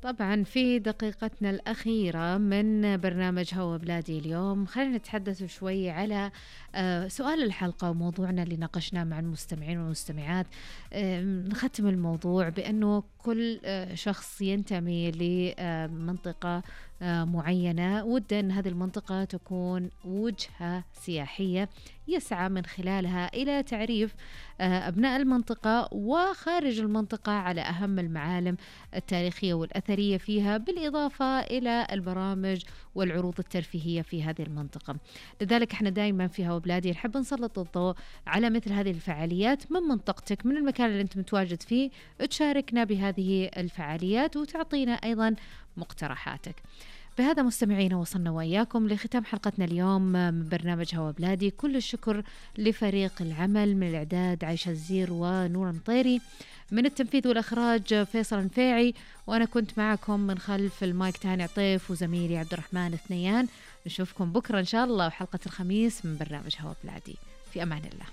طبعا في دقيقتنا الأخيرة من برنامج هوا بلادي اليوم خلينا نتحدث شوي على سؤال الحلقة وموضوعنا اللي ناقشناه مع المستمعين والمستمعات. نختم الموضوع بأنه كل شخص ينتمي لمنطقة معينة وده أن هذه المنطقة تكون وجهة سياحية يسعى من خلالها إلى تعريف أبناء المنطقة وخارج المنطقة على أهم المعالم التاريخية والأثرية فيها، بالإضافة إلى البرامج والعروض الترفيهية في هذه المنطقة. لذلك احنا دائما في هوا بلادي نحب نسلط الضوء على مثل هذه الفعاليات من منطقتك، من المكان اللي انت متواجد فيه، تشاركنا بهذه الفعاليات وتعطينا أيضا مقترحاتك. بهذا مستمعينا وصلنا وإياكم لختام حلقتنا اليوم من برنامج هوا بلادي. كل الشكر لفريق العمل من الإعداد عايشة الزير ونور مطيري، من التنفيذ والإخراج فيصل النفيعي، وأنا كنت معكم من خلف المايك تهاني عطيف وزميلي عبد الرحمن الثنيان. نشوفكم بكرة إن شاء الله وحلقة الخميس من برنامج هوا بلادي. في أمان الله.